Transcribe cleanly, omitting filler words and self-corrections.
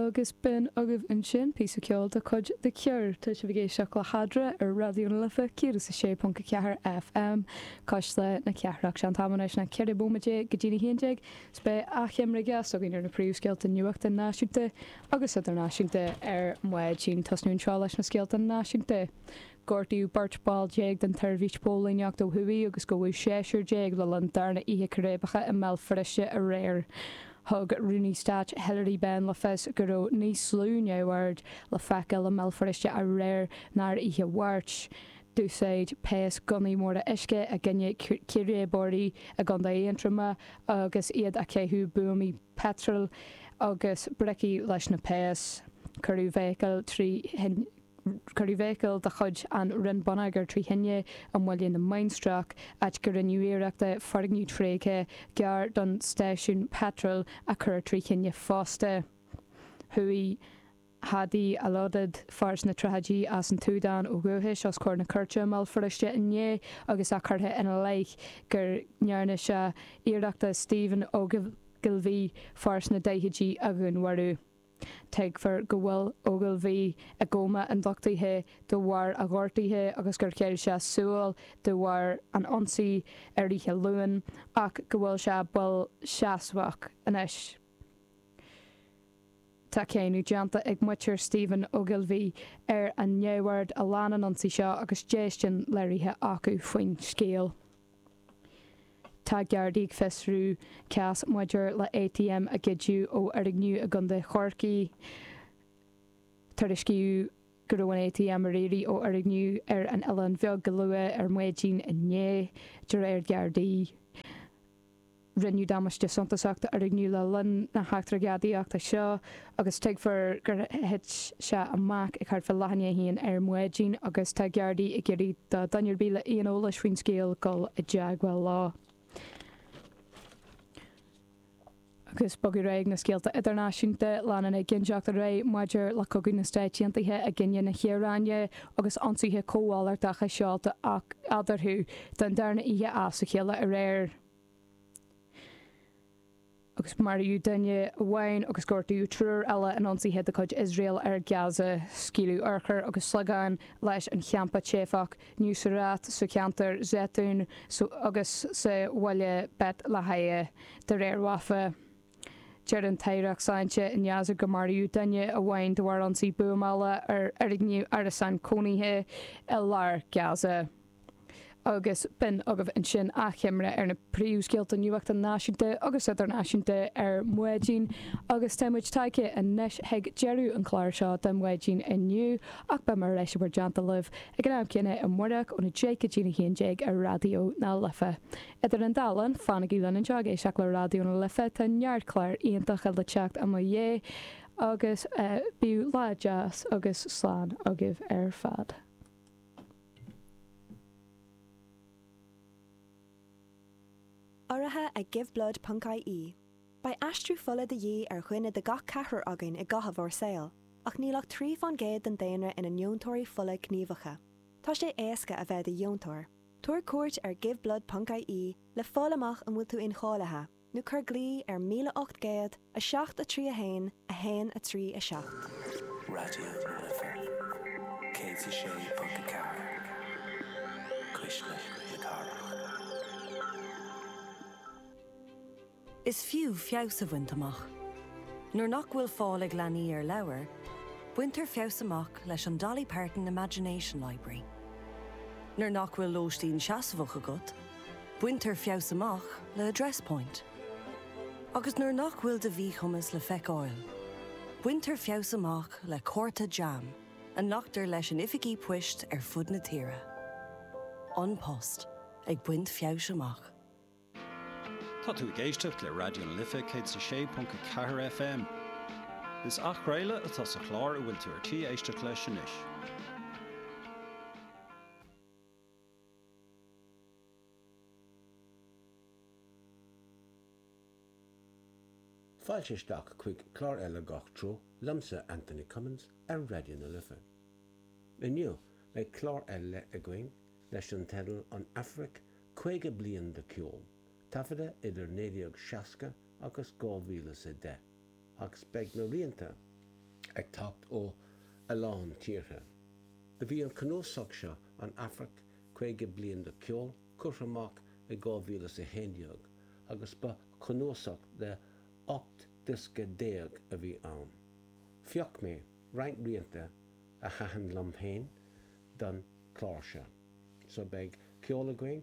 Agus b'in agaibh ansin píosa ceoil de chuid The Cure. Tá sibh ag éisteacht le hEadra ar Raidió na Life 106.4 FM, Cuisle na Cathrach. Sé an t-am anois ná 14 bhomaite go dtí'n 11 's beidh achoimre ghearr againn ar na príomhscéalta nuachta náisiúnta agus idirnáisiúnta ar maidin. Tosnú anseo leis na scéalta náisiúnta. Gortaíodh beirt ball den tseirbhís póilíneachta ó thuaidh agus gabhadh seisear le linn darna oíche círéibeacha i mBéal Feirste aréir. Thug Rúnaí Stáit Hilary Benn le fios go raibh níos lú neamhoird le feiceáil i mBéal Feirste aréir ná ar oíche Mháirt. D'úsáid péas gunnaí móra uisce i gcoinne círéibeoirí i gContae Aontroma agus iad ag caitheamh buamaí peitril agus bricí leis na péas. Cuireadh feithicil trí Cuireadh feithicil de chuid an Roinn Bonneagair trí thine i mBaile na Mainistreach, áit go rinneadh iarracht foirgneamh tréigthe gar don stáisiún peitril a chur trí thine fosta. Chuaigh Hadi Alodid, fear sna tríochaidí as an tSúdáin ó dhúchais, os comhair na cúirte i mBéal Feirste inné agus é curtha ina leith go ndearna sé iarracht Stephen Ogilvie, fear sna daichidí, a dhúnmharú. Tuigtear go bhfuil Ogilvie i gcóma ionduchtaithe de bharr a ghortaithe agus gur chaill sé súil de bharr an ionsaí ar oíche Luain ach go bhfuil sé builseasamhach anois. Tá cáineadh déanta ag muintir Stephen Ogilvie ar an neamhaird a lean an ionsaí seo agus déistin léirithe acu faoin scéal. Tá Gardaí ag fiosrú cás maidir le ATM a goideadh ó fhoirgneamh i gContae Chorcaí. Tuairiscíodh go raibh an ATM ar iarraidh ó fhoirgneamh ar an Oileán Bheag go luath ar maidin inné, de réir Gardaí. Rinneadh damáiste suntasach d'fhoirgneamh le linn na heachtra gadaíochta seo agus tuigtear gur thit sé amach ag thart fá leath i ndiaidh a haon ar maidin agus tá Gardaí ag iarraidh do dhuine ar bith le aon eolais faoin scéal dul i dteagmháil leo. Agus bogadh ar aghaidh na scéalta idirnáisiúnta, leanann éiginnteacht ar aghaidh maidir le cogadh na Stáit Aontaithe i gcoinne na hIaráine agus ionsaithe cómhalartacha seolta eadarthu don darna oíche as a chéile aréir. Agus maraíodh duine amháin agus gortaíodh triúr eile in ionsaithe de chuid Iosrael ar Gaza. Scaoileadh urchair agus sliogáin leis an champa teifeach Nuseirat sa cheantar Zeitoun agus sa bhaile Beit Lahia, de réir Wafa. Deir an tAireacht Sláinte i nGaza gur maraíodh duine amháin de bharr ionsaí buamála ar fhoirgneamh árasán cónaithe i lár Gaza. Agus b'in agaibh ansin achoimre ar na príomhscéalta nuachta náisiúnta agus idirnáisiúnta ar maidin. Agus tá muid tagtha anois chuig deireadh an chláir seo don mhaidin inniu ach beidh mé ar ais i bhur dteannta libh ag an am céanna amárach óna 10 go dtí'n 11 ar Raidió na Life. Idir an dá linn, fanaigí linn anseo ag éisteacht le Raidió na Life, tá neart cláir iontacha le teacht i mo dhiaidh agus bíodh lá deas agus slán agaibh ar fad. Urraithe ag Giveblood ponc ie. Beidh aistriú fola de dhíth ar dhuine de gach ceathrar againn i gcaitheamh ár saoil, ach níl ach 3 fán gcéad den daonra ina ndeontóirí fola gníomhacha. Tá sé éasca a bheith i do dheontóir. Tabhair cuairt ar Giveblood ponc ie le fáil amach an bhfuil tú incháilithe. nó cuir glao ar 1800 7 3 1 1 3 7. Raidió na Life 106.4, Cuisle na Cathrach. Is fiú feabhas a bhaint amach. Nuair nach bhfuil fáil ag leanaí ar leabhair, baintear feabhas amach leis an Dolly Parton Imagination Library. Nuair nach bhfuil lóistín seasmhach agat, Baintear feabhas amach le Address Point. Agus nuair nach bhfuil do mhíchumas le feiceáil, baintear feabhas amach le cárta JAM a nglactar leis in oifigí poist ar fud na tíre. An Post, ag baint feabhais amach. Tá tú ag éisteacht le Raidió na Life 106.4 FM. Is athchraoladh atá sa chlár a bhfuil tú ar tí éisteacht leis anois. Fáilte isteach chuig clár eile Gach Treo liomsa Anthony Cummins ar Raidió na Life. Inniu beidh clár eile againn leis an teideal An Afraic 50 bliain de cheol, taifeadta idir 1960 agus 2010 agus beidh na rianta. Ag teacht ó a lán tíortha. Do bhí an cnuasach seo, An Afraic, 50 Bliain de Cheol, curtha amach i 2011 agus ba chnuasach de 18 diosca a bhí ann. Phioc mé roinnt rianta a thaitin liom féin don chlár seo. So beidh ceol againn.